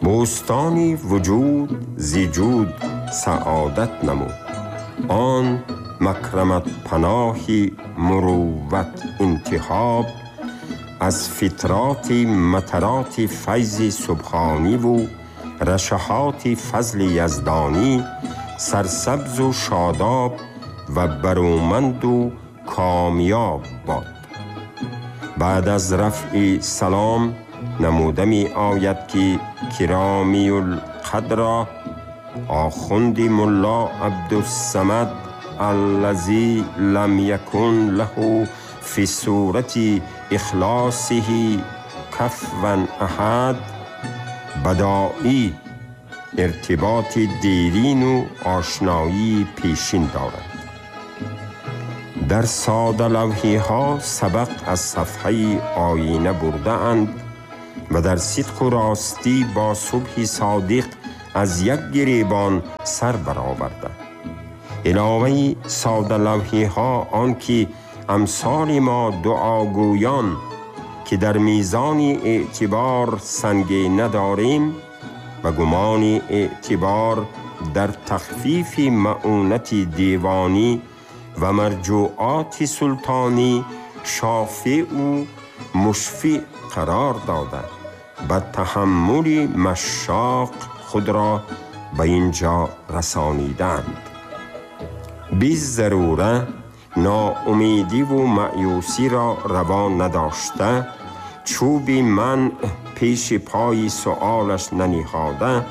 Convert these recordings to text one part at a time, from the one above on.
بوستانی وجود زی جود سعادت نمود، آن مکرمت پناهی مروت انتخاب، از فطرات مطرات فیض سبحانی و رشحات فضل یزدانی سرسبز و شاداب و برومند و کامیاب باد. بعد از رفع سلام نموده می آید که کرامی القدر آخوند ملا عبدالصمد الذی لم یکن له فی صورت اخلاصه کفوا احد بدائی ارتباط دیرین و آشنایی پیشین دارد. در ساده لوحی ها سبق از صفحه آینه برده اند و در صدق و راستی با صبح صادق از یک گریبان سر برآورده. علاوه ساده لوحی ها آن که امثال ما دعاگویان که در میزان اعتبار سنگ نداریم و گمان اعتبار در تخفیف معونت دیوانی و مرجوعات سلطانی شافع و مشفع قرار داده به تحمل مشاق خود را به اینجا رسانیدند. بی ضروره ناامیدی و مأیوسی را روا نداشته، چوب من پیش پای سؤالش ننهاده،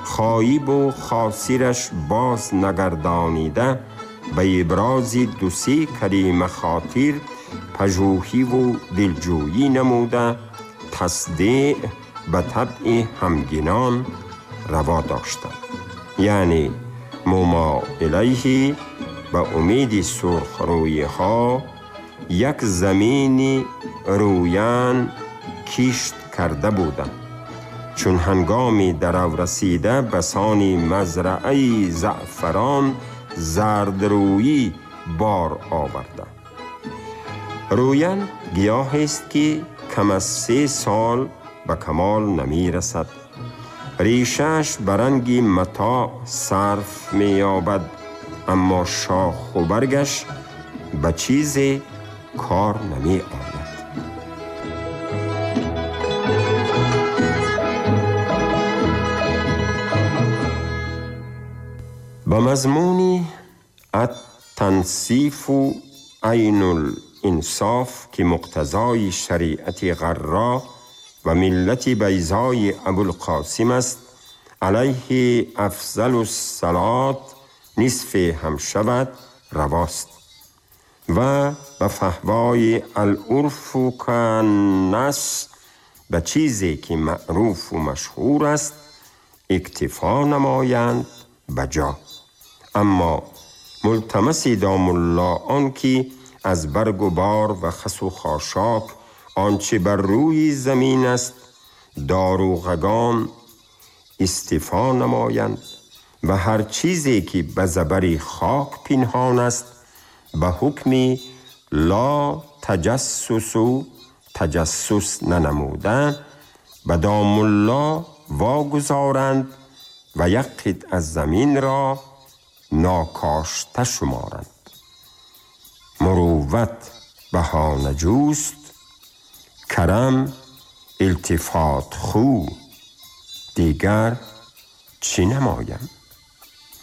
خایب و خاسرش باز نگردانیده، به ابراز دو سه کلمه خاطر پژوهی و دلجویی نموده، تصدیع به طبع همگنان روا داشته، یعنی مما الیه به امید سرخ روی ها یک زمین رویان کشت کرده بودند. چون هنگامی درو رسیده بسانی مزرعه زعفران زردرویی بار آورده. رویان گیاه است که کم از 3 سال به کمال نمی رسد. ریشش برنگ متاع صرف می یابد، اما شاخ و برگش به چیز کار نمی آید. به مضمون التنصیف عین الانصاف که مقتضای شریعت غرا و ملت بیضای ابوالقاسم است، علیه افضل الصلات نصف هم شود رواست و به فهوای العرف کالنص به چیزی که معروف و مشهور است اکتفا نمایند بجا. اما ملتمس دام الله آن که از برگ و بار و خس و خاشاک آنچه بر روی زمین است داروغگان استفا نمایند و هر چیزی که به زبر خاک پنهان است به حکم لا تجسس و تجسس ننموده به دام الله واگذارند و یک قطعه از زمین را ناکاشته شمارند. مروت بهانه جوست، کرم التفات خو، دیگر چی نمایم؟